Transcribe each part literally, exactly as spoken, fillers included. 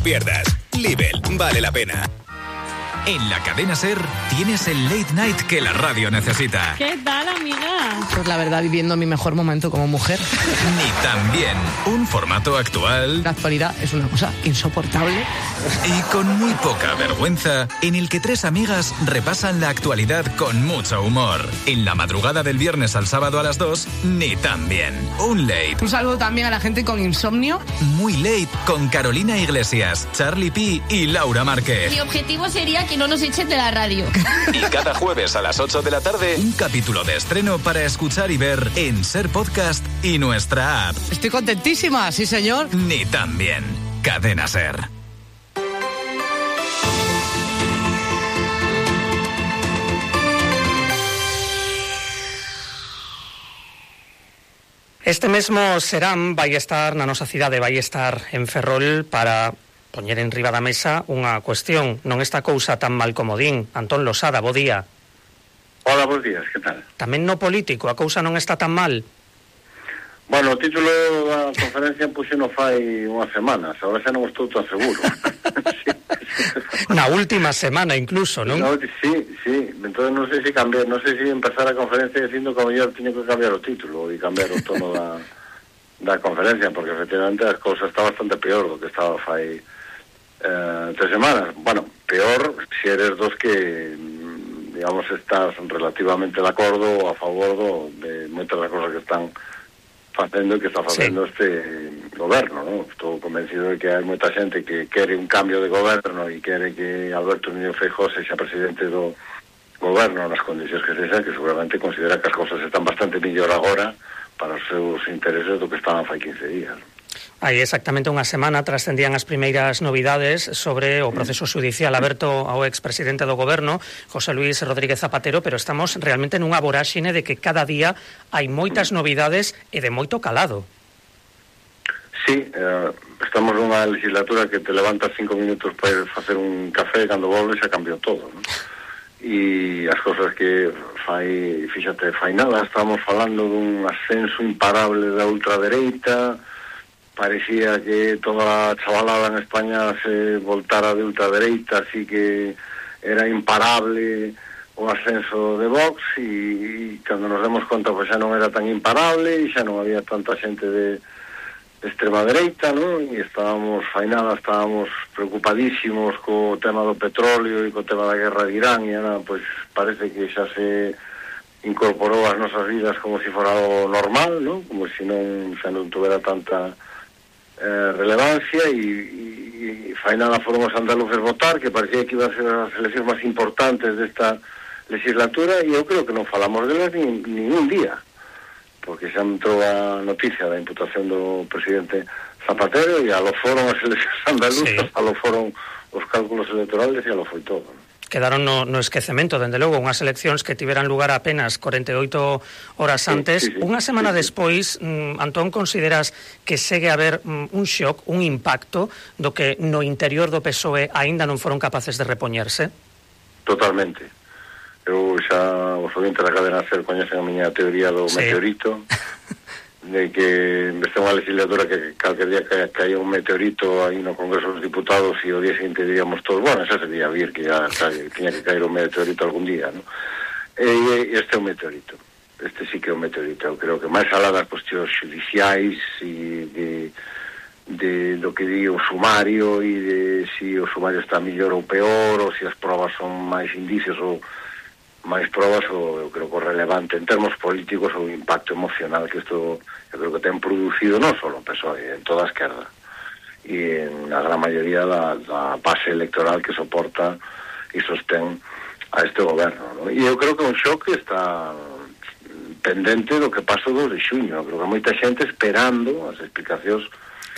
pierdas. Lidl, vale la pena. En la cadena SER tienes el late night que la radio necesita. ¿Qué tal, amiga? Pues la verdad, viviendo mi mejor momento como mujer. Ni tan bien. Un formato actual. La actualidad es una cosa insoportable. Y con muy poca vergüenza, en el que tres amigas repasan la actualidad con mucho humor. En la madrugada del viernes al sábado a las dos, Ni tan bien. Un late. Un saludo también a la gente con insomnio. Muy late con Carolina Iglesias, Charlie P y Laura Márquez. Mi objetivo sería que no nos echen de la radio. Y cada jueves a las ocho de la tarde, un capítulo de estreno para escuchar y ver en SER Podcast y nuestra app. Estoy contentísima, sí señor. Ni tan bien. Cadena SER. Este mesmo serán vai estar na nosa cidade, vai estar en Ferrol para poñer en riba da mesa unha cuestión. Non esta cousa tan mal como din. Antón Losada, bo día. Hola, bons días, que tal? Tamén no político, a cousa non está tan mal. Bueno, o título da conferencia puxe no fai unhas semanas, agora xa non estou tan seguro. Sí. Na última semana incluso, non? No, sí, sí, entón non sei se cambiar, non sei se empezar a conferencia dicindo que a mellor tiño que cambiar o título e cambiar o tono da, da conferencia, porque efectivamente as cousas está bastante peor do que estaba fai eh, tres semanas. Bueno, peor se eres dos que, digamos, estás relativamente de acordo ou a favor do, de moitas das cosas que están facendo e que está facendo sí. Este goberno, ¿no? Estou convencido de que hai moita xente que quere un cambio de goberno e quere que Alberto Núñez Feijóo sexa presidente do goberno nas condicións que sexa, que seguramente considera que as cousas están bastante mellor agora para os seus intereses do que estaban fai quince días. Hai exactamente unha semana trascendían as primeiras novidades sobre o proceso judicial aberto ao expresidente do goberno, José Luis Rodríguez Zapatero, pero estamos realmente nunha voráxine de que cada día hai moitas novidades e de moito calado. Sí, eh, estamos nunha legislatura que te levantas cinco minutos para ir facer un café e cando volves xa cambiou todo, ¿no? E as cosas que fai, fíxate, fai nada, estamos falando dun ascenso imparable da ultradereita. Parecía que toda a chavalada en España se voltara de ultradereita, así que era imparable o ascenso de Vox, e, e cando nos demos conta pues xa non era tan imparable e xa non había tanta xente de, de extrema dereita, ¿no? E estábamos fainada, estábamos preocupadísimos co tema do petróleo e co tema da guerra de Irán, e ahora pues parece que xa se incorporou ás nosas vidas como se fora algo normal, ¿no? Como se non, xa non tuvera tanta Eh, relevancia, e, e, e fai nada foron os andaluces votar, que parecía que iban a ser as eleccións máis importantes desta legislatura, e eu creo que non falamos delas ni, ni un día, porque xa entrou a noticia da imputación do presidente Zapatero e a lo foron as eleccións andaluzas, sí. A lo foron os cálculos electorales e a lo foi todo, ¿no? Quedaron no, no esquecemento, dende logo, unhas eleccións que tiveran lugar apenas corenta e oito horas antes. Sí, sí, sí. Unha semana sí, sí. despois, mm, Antón, consideras que segue a haber mm, un shock, un impacto do que no interior do P S O E aínda non foron capaces de repoñerse? Totalmente. Eu xa, os oyentes da cadena SER coñecen a miña teoría do sí. meteorito, de que en vez de unha legislatura que calquer día que caía un meteorito aí no Congreso dos Diputados e o día seguinte diríamos todos, bueno, xa sería vir que ya cae, tiña que caer un meteorito algún día, ¿no? E este é un meteorito, este sí que é un meteorito. Eu creo que máis alá das cuestións judiciais e de, de do que di o sumario e de si o sumario está mellor ou peor, ou se as probas son máis indicios ou máis probas, o eu creo que o relevante en termos políticos o impacto emocional que isto eu creo que ten producido non só en P S O E, en toda a esquerda e en a gran maioría da, da base electoral que soporta e sostén a este goberno, ¿no? E eu creo que un shock está pendente do que pasou dos de xuño. Eu creo que moita xente esperando as explicacións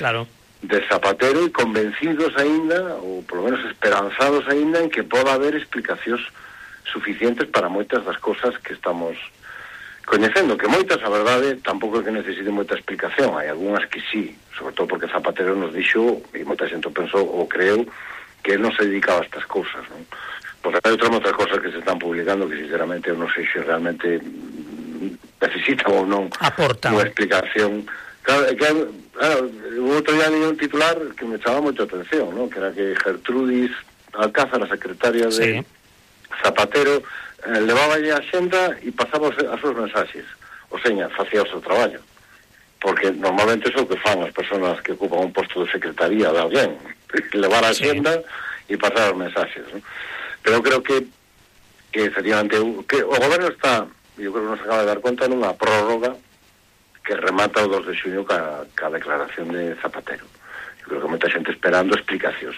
claro. de Zapatero e convencidos aínda, ou polo menos esperanzados aínda, en que poda haber explicacións suficientes para moitas das cousas que estamos coñecendo, que moitas, a verdade, tampouco é que necesiten moita explicación, hai algunhas que sí, sobre todo porque Zapatero nos dixo, e moita xente pensou ou creeu, que él non se dedicaba a estas cousas, non? Porque hai outras moitas cousas que se están publicando que sinceramente eu non sei se realmente necesitan ou non aportan unha explicación Claro, que, claro, o outro día leí un titular que me chamaba moita atención, ¿no? Que era que Gertrudis Alcázar, a secretaria de sí. Zapatero, eh, levaba a xenda e pasaba as súas mensaxes. O seña, facía o seu traballo. Porque normalmente é o que fan as persoas que ocupan un posto de secretaría de alguén. Levar a xenda e pasar os mensaxes, ¿no? Pero creo que que efectivamente que o goberno está, eu creo que nos acaba de dar conta, nunha prórroga que remata o dos de xuño ca, ca declaración de Zapatero. Eu creo que moita xente esperando explicacións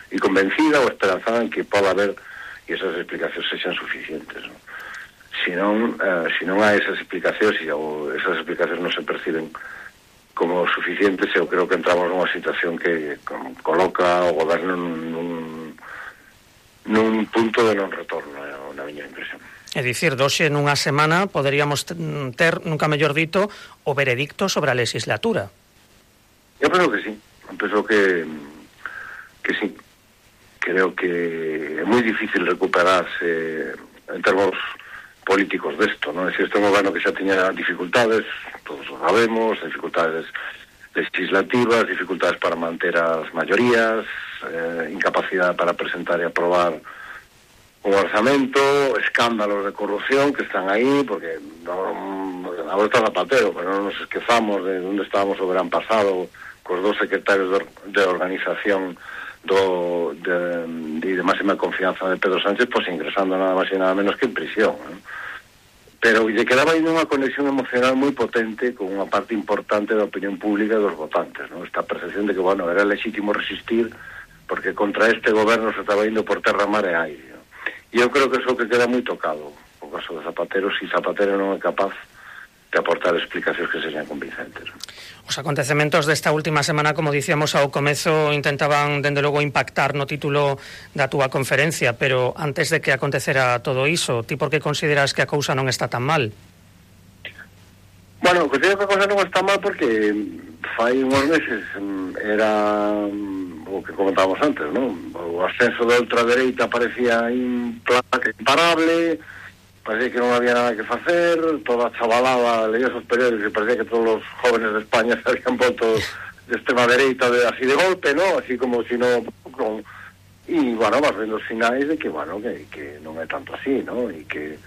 e convencida ou esperanzada en que poda haber e esas explicacións sexan suficientes, ¿no? Si non, eh, si non hai esas explicacións e ou esas explicacións non se perciben como suficientes, eu creo que entramos nunha situación que com, coloca o goberno nun, nun punto de non retorno, na miña impresión. É dicir, doxe nunha semana poderíamos ter, nunca mellor dito, o veredicto sobre a legislatura. Eu penso que sí, eu penso que que sí. Creo que é moi difícil recuperarse en termos políticos desto, non? Se este goberno que xa tiña dificultades, todos o sabemos, dificultades legislativas, dificultades para manter as maiorías, eh, incapacidade para presentar e aprobar o orzamento, escándalos de corrupción que están aí, porque non, agora está Zapatero, pero non nos esquezamos de onde estábamos o verán pasado cos dos secretarios de, de organización do, de, de, de máxima confianza de Pedro Sánchez, pois ingresando nada máis e nada menos que en prisión, ¿no? Pero lle quedaba aí unha conexión emocional moi potente con unha parte importante da opinión pública e dos votantes, ¿no? Esta percepción de que, bueno, era legítimo resistir porque contra este goberno se estaba indo por terra, mar e aire, ¿no? E eu creo que eso que queda moi tocado o caso de Zapatero, si Zapatero non é capaz de aportar explicacións que sexan convincentes, ¿no? Os acontecementos desta última semana, como dicíamos ao comezo, intentaban, dende logo, impactar no título da túa conferencia, pero antes de que acontecera todo iso, ti por que consideras que a cousa non está tan mal? Bueno, considero que a cousa non está mal porque fai uns meses era o que comentábamos antes, ¿no? O ascenso da ultradereita parecía imparable, parecía que non había nada que facer, toda a chavalada leía os periódicos e parecía que todos os jóvenes de España se habían voto de extrema dereita de, así de golpe, ¿no? Así como si no... Con... Y, bueno, vas vendo os sinais de que, bueno, que, que non é tanto así, ¿no? E que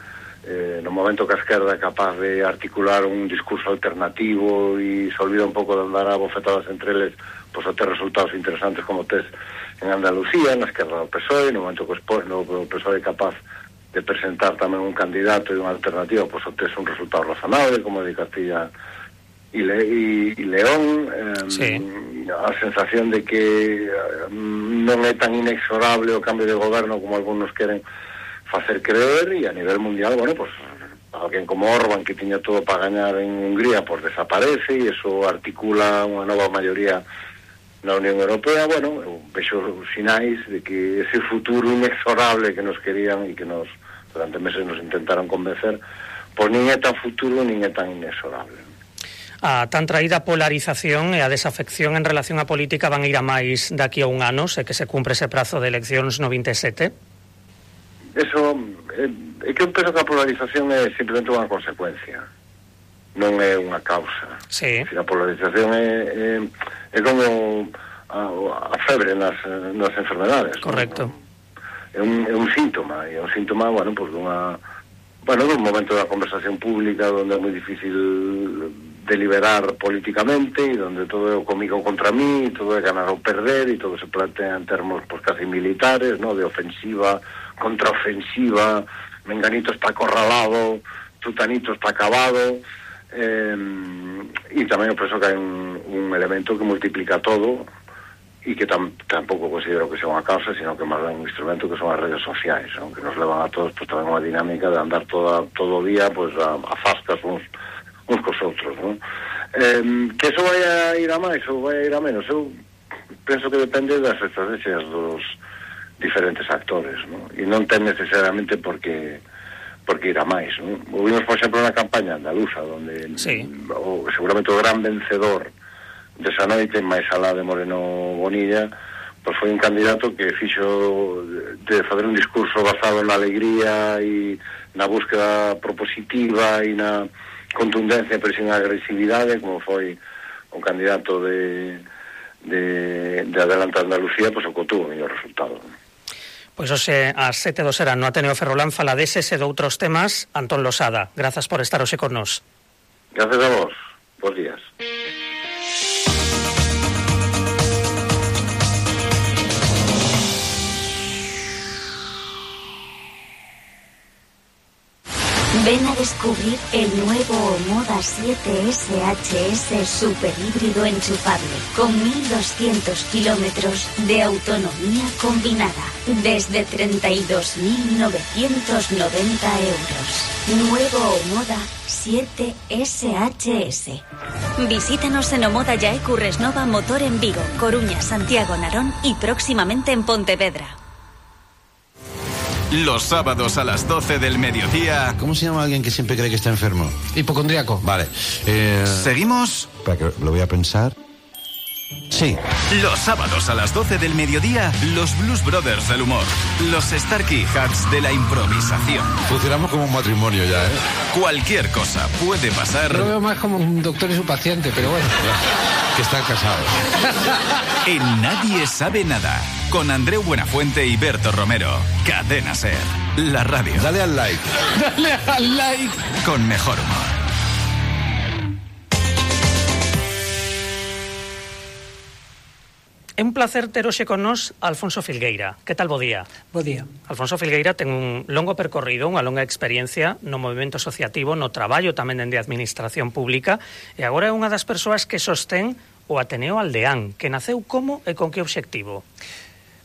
eh, no momento que a esquerda é capaz de articular un discurso alternativo e se olvida un pouco de andar a bofetadas entre eles, pois a ter resultados interesantes como tes en Andalucía, na esquerda do P S O E, no momento que o P S O E é capaz de presentar tamén un candidato e unha alternativa, pois obtes un resultado razonable, como de Castilla e, Le, e, e León, eh, sí. A sensación de que eh, non é tan inexorable o cambio de goberno como algunos queren facer creer, e a nivel mundial, bueno, pois alguén como Orbán, que tiña todo para gañar en Hungría, pois desaparece, e eso articula unha nova maioría na Unión Europea. Bueno, eu vexo sinais de que ese futuro inexorable que nos querían e que nos durante meses nos intentaron convencer, pois nin é tan futuro nin é tan inexorable. A tan traída polarización e a desafección en relación á política van ir a máis daqui a un ano, se que se cumpre ese prazo de eleccións no vinte e sete? Eso, é, é que eu penso que a polarización é simplemente unha consecuencia, non é unha causa. Sí. A polarización é, é, é como a, a febre nas, nas enfermedades. Correcto. ¿No? É un, é un síntoma, e é un síntoma, bueno, pues dunha, bueno, dun momento da conversación pública onde é moi difícil deliberar políticamente e onde todo é o comigo contra mí, e todo é ganar ou perder, e todo se plantea en termos pues, casi militares, ¿no? De ofensiva, contraofensiva, menganito está acorralado, tutanito está acabado, eh, e tamén eu penso que hai un, un elemento que multiplica todo e que tam, tampouco considero que sea unha causa, sino que máis un instrumento que son as redes sociais, ¿no? Que nos levan a todos pues, tamén unha dinámica de andar toda, todo o día pues, a, a fascas uns, uns cos outros, ¿no? Eh, que eso vai a ir a máis ou vai a ir a menos, eu penso que depende das estrategias dos diferentes actores, ¿no? E non ten necesariamente porque porque ir a máis, ¿no? O vimos, por exemplo, na campaña andaluza, donde sí. o, seguramente o gran vencedor desa noite, máis alá de Moreno Bonilla, pois foi un candidato que fixo de fazer un discurso basado na alegría e na búsqueda propositiva e na contundencia pero sin agresividade, como foi o candidato de, de, de Adelante Andalucía, pois o que tuvo o mellor resultado. Pois hoxe ás sete do serán no Ateneo Ferrolán fala deses e de outros temas Antón Losada. Grazas por estar hoxe con nós. Gracias a vos. Bos días. Ven a descubrir el nuevo Omoda siete S H S super híbrido enchufable con mil doscientos kilómetros de autonomía combinada desde treinta y dos mil novecientos noventa euros. Nuevo Omoda siete S H S. Visítanos en Omoda Yae Curresnova Motor en Vigo, Coruña, Santiago, Narón y próximamente en Pontevedra. Los sábados a las doce del mediodía. ¿Cómo se llama alguien que siempre cree que está enfermo? Hipocondríaco. Vale. Eh... ¿Seguimos? Para que lo voy a pensar. Sí. Los sábados a las doce del mediodía, los Blues Brothers del humor. Los Starkey Hats de la improvisación. Funcionamos como un matrimonio ya, ¿eh? Cualquier cosa puede pasar. Lo veo más como un doctor y su paciente, pero bueno. Que están casados. En Nadie Sabe Nada. Con Andreu Buenafuente y Berto Romero. Cadena Ser. La radio. Dale al like. Dale al like. Con mejor humor. É un placer ter hoxe con nós Alfonso Filgueira. Que tal, bo día? Bo día. Alfonso Filgueira ten un longo percorrido, unha longa experiencia no movimento asociativo, no traballo tamén dende a administración pública, e agora é unha das persoas que sostén o Ateneo Aldeán, que naceu como e con que obxectivo?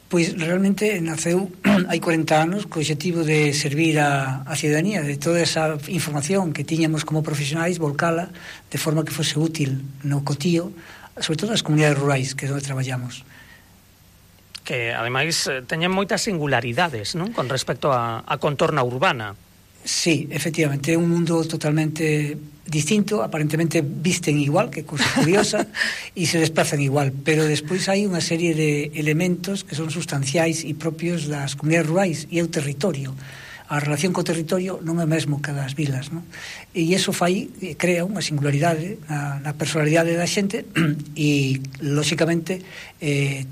Pois realmente naceu hai corenta anos co obxectivo de servir a, a ciudadanía, de toda esa información que tiñamos como profesionais, volcala de forma que fose útil no cotío, sobre todo nas comunidades rurais, que é onde traballamos. Que, ademais, teñen moitas singularidades, non? Con respecto a, a contorna urbana. Sí, efectivamente, é un mundo totalmente distinto, aparentemente visten igual, que cousa curiosa, e se desplazan igual, pero despois hai unha serie de elementos que son sustanciais e propios das comunidades rurais, e é o territorio. A relación co territorio non é mesmo que das vilas, non? E iso fai, crea unha singularidade na, na personalidade da xente e, lóxicamente, eh,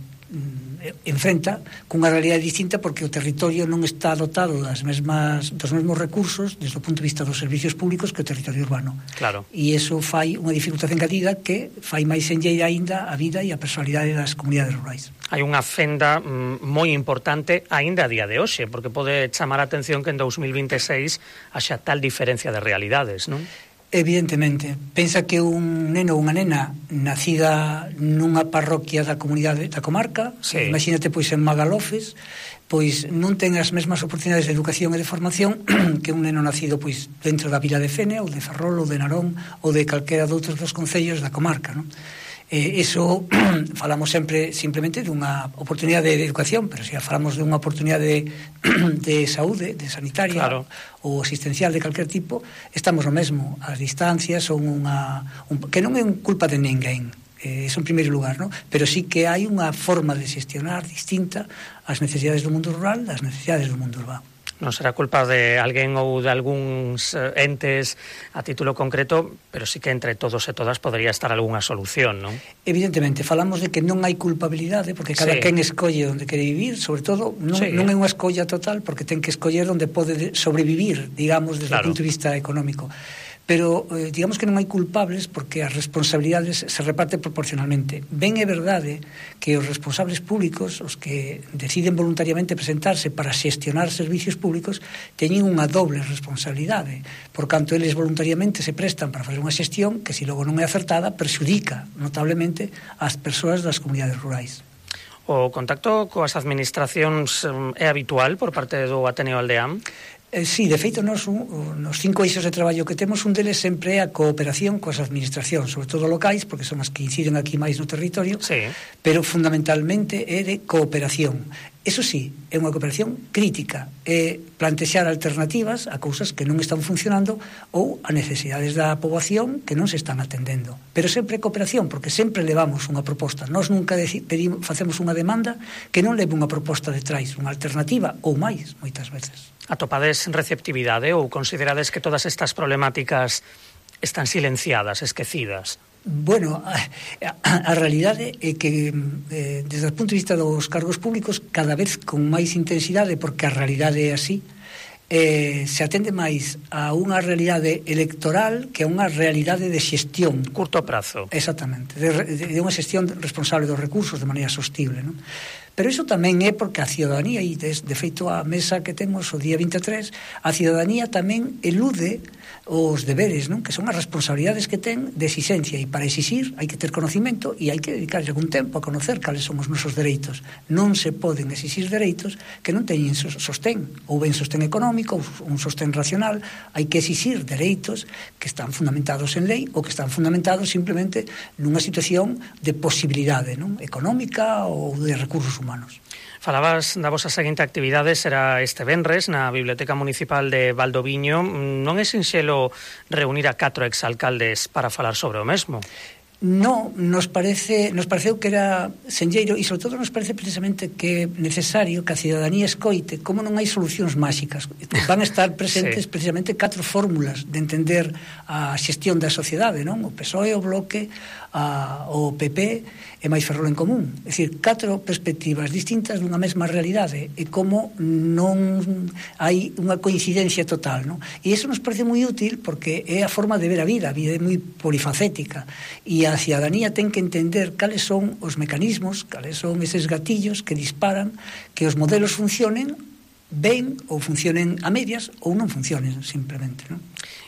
enfrenta cunha realidade distinta porque o territorio non está dotado das mesmas, dos mesmos recursos desde o punto de vista dos servicios públicos que o territorio urbano. Claro. E iso fai unha dificultade engadida que fai máis enlleira aínda a vida e a personalidade das comunidades rurais. Hai unha fenda mm, moi importante aínda a día de hoxe, porque pode chamar a atención que en dous mil vinte e seis haxa tal diferencia de realidades, non? Evidentemente. Pensa que un neno ou unha nena nacida nunha parroquia da comunidade da comarca, sí. Imagínate pois en Magalofes, pois non ten as mesmas oportunidades de educación e de formación que un neno nacido pois dentro da vila de Fene ou de Ferrol ou de Narón ou de calquera doutros dos concellos da comarca, non? Eh, eso falamos sempre simplemente dunha oportunidade de educación, pero se falamos dunha oportunidade de, de saúde, de sanitaria, claro, ou asistencial de calquer tipo, estamos no mesmo. As distancias son unha un, que non é un culpa de ninguén, eh, eso en primeiro lugar, ¿no? Pero sí que hai unha forma de xestionar distinta as necesidades do mundo rural das necesidades do mundo urbano. Non será culpa de alguén ou de algúns entes a título concreto, pero sí que entre todos e todas podría estar algunha solución, non? Evidentemente, falamos de que non hai culpabilidade, porque cada sí. quen escolle onde quere vivir, sobre todo, non, sí. non é unha escolla total, porque ten que escoller onde pode sobrevivir, digamos, desde claro. o punto de vista económico. Pero eh, digamos que non hai culpables porque as responsabilidades se reparten proporcionalmente. Ben é verdade que os responsables públicos, os que deciden voluntariamente presentarse para xestionar servicios públicos, teñen unha doble responsabilidade. Por canto, eles voluntariamente se prestan para fazer unha xestión que, se logo non é acertada, perxudica notablemente as persoas das comunidades rurais. O contacto coas administracións é habitual por parte do Ateneo Aldeán? Eh, sí, de feito, nos, un, nos cinco eixos de traballo que temos, un deles sempre é a cooperación coas administracións, sobre todo locais, porque son as que inciden aquí máis no territorio, sí. pero fundamentalmente é de cooperación. Eso sí, é unha cooperación crítica, é plantexar alternativas a cousas que non están funcionando ou a necesidades da poboación que non se están atendendo. Pero sempre é cooperación, porque sempre levamos unha proposta. Nós nunca pedimos, facemos unha demanda que non leve unha proposta detrás, unha alternativa ou máis, moitas veces. Atopades receptividade ou considerades que todas estas problemáticas están silenciadas, esquecidas? Bueno, a, a, a realidade é que eh, desde o punto de vista dos cargos públicos cada vez con máis intensidade, porque a realidade é así, eh, se atende máis a unha realidade electoral que a unha realidade de xestión. Curto prazo. Exactamente, de, de, de unha xestión responsable dos recursos de maneira sostible, non? Pero iso tamén é porque a ciudadanía, e de, de feito a mesa que temos o día vinte e tres, a ciudadanía tamén elude os deberes, non? Que son as responsabilidades que ten de exixencia, e para exixir hai que ter conocimento e hai que dedicarlle algún tempo a conocer cales son os nosos dereitos. Non se poden exixir dereitos que non teñen sostén, ou ben sostén económico, ou un sostén racional. Hai que exixir dereitos que están fundamentados en lei ou que están fundamentados simplemente nunha situación de posibilidade, non? Económica ou de recursos humanos. Falabas da vosa seguinte actividade, será este venres na Biblioteca Municipal de Valdoviño. Non é sinxelo reunir a catro exalcaldes para falar sobre o mesmo? No, nos parece, nos pareceu que era senlleiro e, sobre todo, nos parece precisamente que é necesario que a ciudadanía escoite como non hai solucións máxicas. Van a estar presentes sí. precisamente catro fórmulas de entender a xestión da sociedade, non? O P S O E, o Bloque, a, o P P e máis Ferrol en Común. É dicir, catro perspectivas distintas dunha mesma realidade e como non hai unha coincidencia total, non? E iso nos parece moi útil porque é a forma de ver a vida. A vida é moi polifacética e a ciudadanía ten que entender cales son os mecanismos, cales son eses gatillos que disparan que os modelos funcionen ben ou funcionen a medias ou non funcionen simplemente, non?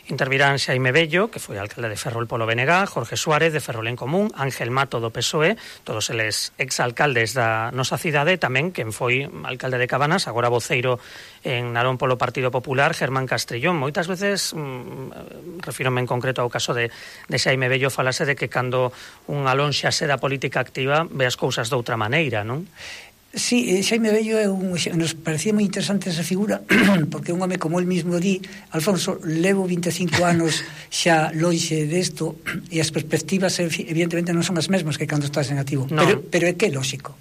Intervirán Xaime Bello, que foi alcalde de Ferrol polo B N G, Jorge Suárez de Ferrol en Común, Ángel Mato do P S O E, todos eles exalcaldes da nosa cidade, tamén quen foi alcalde de Cabanas, agora voceiro en Narón polo Partido Popular, Germán Castrillón. Moitas veces, mmm, refírome en concreto ao caso de, de Xaime Bello, falase de que cando un alónxase da política activa ve as cousas de outra maneira, non? Sí, Xaime Bello é un, nos parecía moi interesante esa figura porque un home como el mismo di, Alfonso, levo vinte e cinco anos xa lonxe desto e as perspectivas evidentemente non son as mesmas que cando estás en activo, no. pero, pero é que é lógico.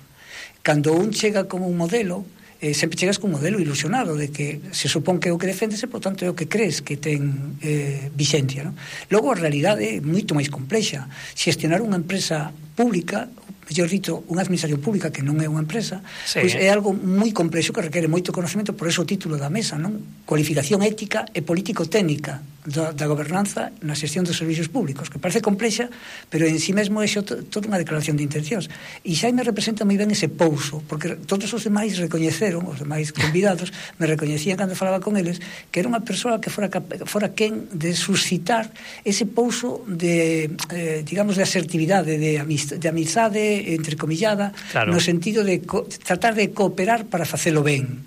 Cando un chega como un modelo, eh, sempre chegas con un modelo ilusionado de que se supón que é o que defendese, por tanto é o que crees que ten eh, vixencia, non? Logo a realidade é moito máis complexa. Xestionar unha empresa pública, mellor dito, unha administración pública que non é unha empresa, sí. pois é algo moi complexo que requere moito conocemento, por eso o título da mesa, non? Cualificación ética e político-técnica da, da gobernanza na xestión dos servicios públicos, que parece complexa, pero en si mesmo é toda unha declaración de intencións. E Xaime representa moi ben ese pouso, porque todos os demais recoñeceron, os demais convidados, me recoñecían cando falaba con eles, que era unha persoa que fora, fora quen de suscitar ese pouso de, eh, digamos, de asertividade, de amistade, de amizade entrecomillada, claro. no sentido de co- tratar de cooperar para facelo ben.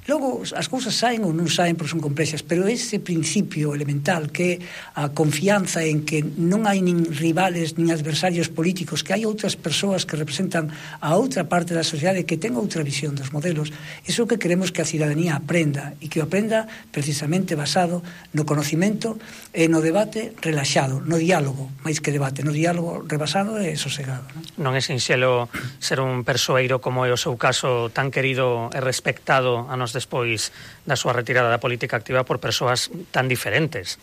Logo, as cousas saen ou non saen porque son complexas, pero ese principio elemental que é a confianza en que non hai nin rivales nin adversarios políticos, que hai outras persoas que representan a outra parte da sociedade que ten outra visión dos modelos, iso que queremos que a ciudadanía aprenda e que o aprenda precisamente basado no conocimento e no debate relaxado, no diálogo, máis que debate, no diálogo rebasado e sosegado. Non, non é sinxelo ser un persoeiro como é o seu caso tan querido e respectado a nos despois da súa retirada da política activa por persoas tan diferentes.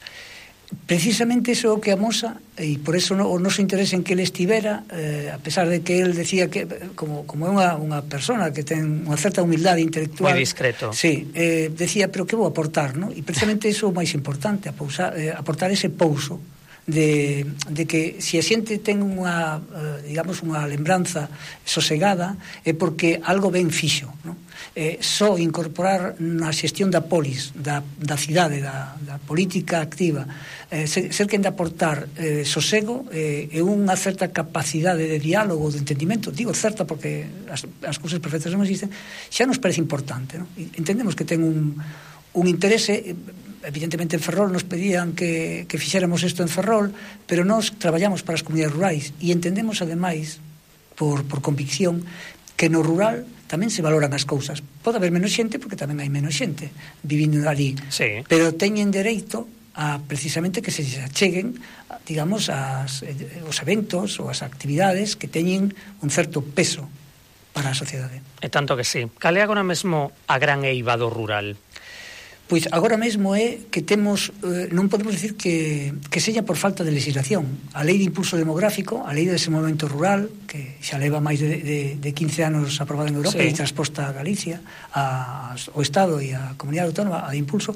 Precisamente iso é o que amosa, e por eso no, o noso interés en que ele estivera, eh, a pesar de que ele decía que como, como é unha, unha persona que ten unha certa humildade intelectual, moi discreto, sí, eh, decía, pero que vou aportar, non? E precisamente iso é o máis importante, apousar, eh, aportar ese pouso de, de que se a xente ten unha, eh, digamos, unha lembranza sosegada é porque algo ben fixo, non? Eh, só incorporar na xestión da polis, da, da cidade, da, da política activa, eh, ser, ser quen de aportar eh, sosego eh, e unha certa capacidade de diálogo, de entendimento, digo certa porque as, as cousas perfectas non existen, xa nos parece importante, non? Entendemos que ten un, un interese. Evidentemente en Ferrol nos pedían que, que fixéramos isto en Ferrol, pero nós traballamos para as comunidades rurais e entendemos ademais por, por convicción que no rural tamén se valoran as cousas. Pode haber menos xente porque tamén hai menos xente vivindo ali, sí. pero teñen dereito a precisamente que se acheguen, digamos, as, os eventos ou as actividades que teñen un certo peso para a sociedade. E tanto que sí. Cal é agora mesmo a gran eiva do rural? Pois agora mesmo é que temos, eh, non podemos decir que, que sella por falta de legislación. A lei de impulso demográfico, a lei de desenvolvemento rural, que xa leva máis de, de, de quince anos aprobada en Europa, sí, e transposta a Galicia, a, ao Estado e a Comunidade Autónoma, a de impulso,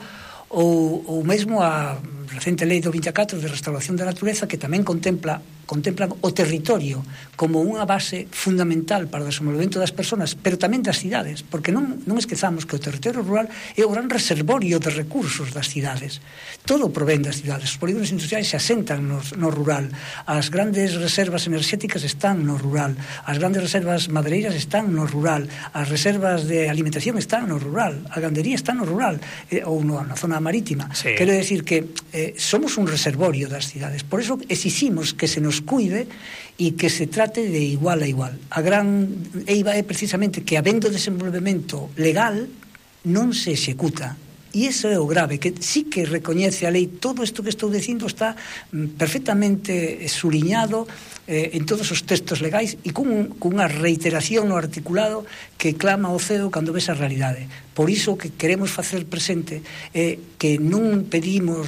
ou, ou mesmo a recente lei do vinte e catro de restauración da natureza, que tamén contempla contemplan o territorio como unha base fundamental para o desenvolvemento das persoas, pero tamén das cidades, porque non, non esquezamos que o territorio rural é o gran reservorio de recursos das cidades. Todo provén das cidades. Os polígonos industriais se asentan no, no rural, as grandes reservas enerxéticas están no rural, as grandes reservas madeireiras están no rural, as reservas de alimentación están no rural, a gandería está no rural, eh, ou no, na zona marítima. Sí. Quero decir que eh, somos un reservorio das cidades, por eso exiximos que se nos cuide e que se trate de igual a igual. A gran eiva é precisamente que, habendo desenvolvemento legal, non se executa. E iso é o grave, que sí que recoñece a lei. Todo isto que estou dicindo está perfectamente suliñado eh, en todos os textos legais e cun, cunha reiteración no articulado que clama ao ceo cando ves a realidade. Por iso que queremos facer presente é eh, que non pedimos